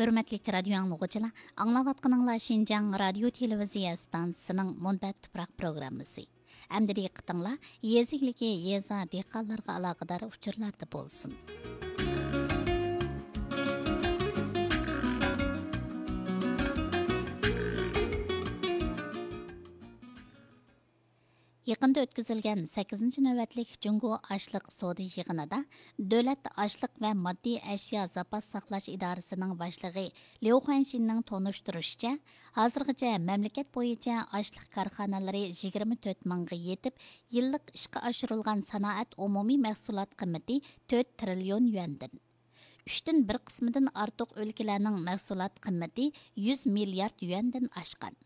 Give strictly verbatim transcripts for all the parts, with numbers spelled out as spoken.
ھۆرمەتلىك رادىيو ئاڭلىغۇچىلار، ئاڭلاۋاتقىنىڭلار شىنجاڭ رادىيو تېلېۋىزىيە ئىستانسىسىنىڭ مۇنبەت تۇپراق پروگراممىسى. ئەمدى دىققىتىڭلار يېزا ئىگىلىكى، يېزا دېھقانلارغا ئالاقىدار ئۇچۇرلاردا بولسۇن. يېقىندا ئۆتكۈزۈلگەن سەككىزىنچى نۆۋەتلىك جۇڭگو ئاشلىق سودا يىغىنىدا دۆلەت ئاشلىق ۋە ماددىي ئەشيا زاپاس ساقلاش ئىدارىسىنىڭ باشلىقى ليۇ خۇەنشىننىڭ تونۇشتۇرۇشىچە، ھازىرغىچە مەملىكەت بويىچە ئاشلىق كارخانىلىرى يىگىرمە تۆت مىڭغا يېتىپ، يىللىق ئىشقا ئاشۇرۇلغان سانائەت ئومۇمىي مەھسۇلات قىممىتى تۆت تىرىليون يۈەندىن، ئۈچتىن بىر قىسمىدىن ئارتۇق ئۆلكىلەرنىڭ مەھسۇلات قىممىتى يۈز مىليارد يۈەندىن ئاشقان.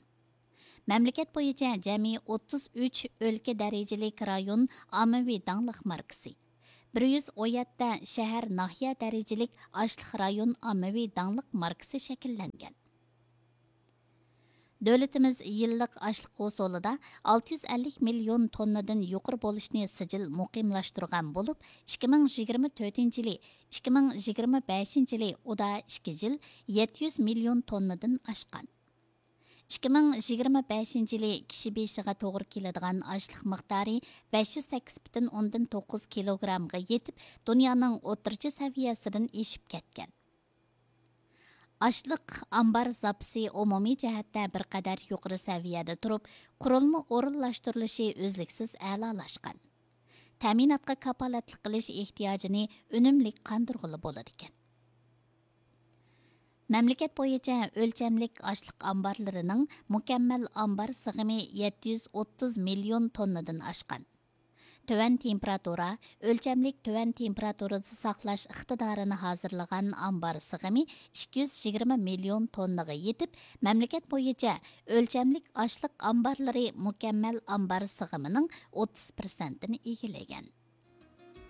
مەملىكەت بويىچە جەمئىي ئوتتۇز ئۈچ ئۆلكە دەرىجىلىك رايون ئاممىۋى داڭلىق ماركىسى، بىر يۈز ئون يەتتە شەھەر، ناھىيە دەرىجىلىك ئاشلىق رايون ئاممىۋى داڭلىق ماركىسى شەكىللەنگەن. دۆلىتىمىز يىللىق ئاشلىق ھوسۇلىدا ئالتە يۈز ئەللىك مىليون توننىدىن يۇقىرى بولۇشنى سىجىل مۇقىملاشتۇرغان بولۇپ، ئىككى مىڭ يىگىرمە تۆتىنچى يىلى، ئىككى مىڭ يىگىرمە بەشىنچى يىلى ئۇدا ئىككى يىل يەتتە يۈز مىليون توننىدىن ئاشقان. ئىككى مىڭ يىگىرمە بەشىنچى يىلى كىشى بېشىغا توغرا كېلىدىغان ئاشلىق مىقدارى بەش يۈز سەككىز پۈتۈن ئوندىن توققۇز كىلوگرامغا يېتىپ، دۇنيانىڭ ئوتتۇرىچە سەۋىيەسىدىن ئېشىپ كەتكەن. ئاشلىق ئامبار زاپىسى ئومۇمىي جەھەتتە بىر قەدەر يۇقىرى سەۋىيەدە تۇرۇپ، قۇرۇلما ئورۇنلاشتۇرۇلۇشى ئۈزلۈكسىز ئەلالاشقان. تەمىناتقا كاپالەتلىك قىلىش ئېھتىياجىنى ئۈنۈملۈك قاندۇرغىلى بولىدىكەن. مەملىكەت بويىچە ئۆلچەملىك ئاشلىق ئامبارلىرىنىڭ مۇكەممەل ئامبار سىغىمى يەتتە يۈز ئوتتۇز مىليون توننىدىن ئاشقان. تۆۋەن تېمپېراتۇرا، ئۆلچەملىك تۆۋەن تېمپېراتۇرىدا ساقلاش ئىقتىدارىنى ھازىرلىغان ئامبار سىغىمى ئىككى يۈز يىگىرمە مىليون توننىغا يېتىپ، مەملىكەت بويىچە ئۆلچەملىك ئاشلىق ئامبارلىرى مۇكەممەل ئامبار سىغىمىنىڭ ئوتتۇز پىرسەنتىنى ئىگىلىگەن.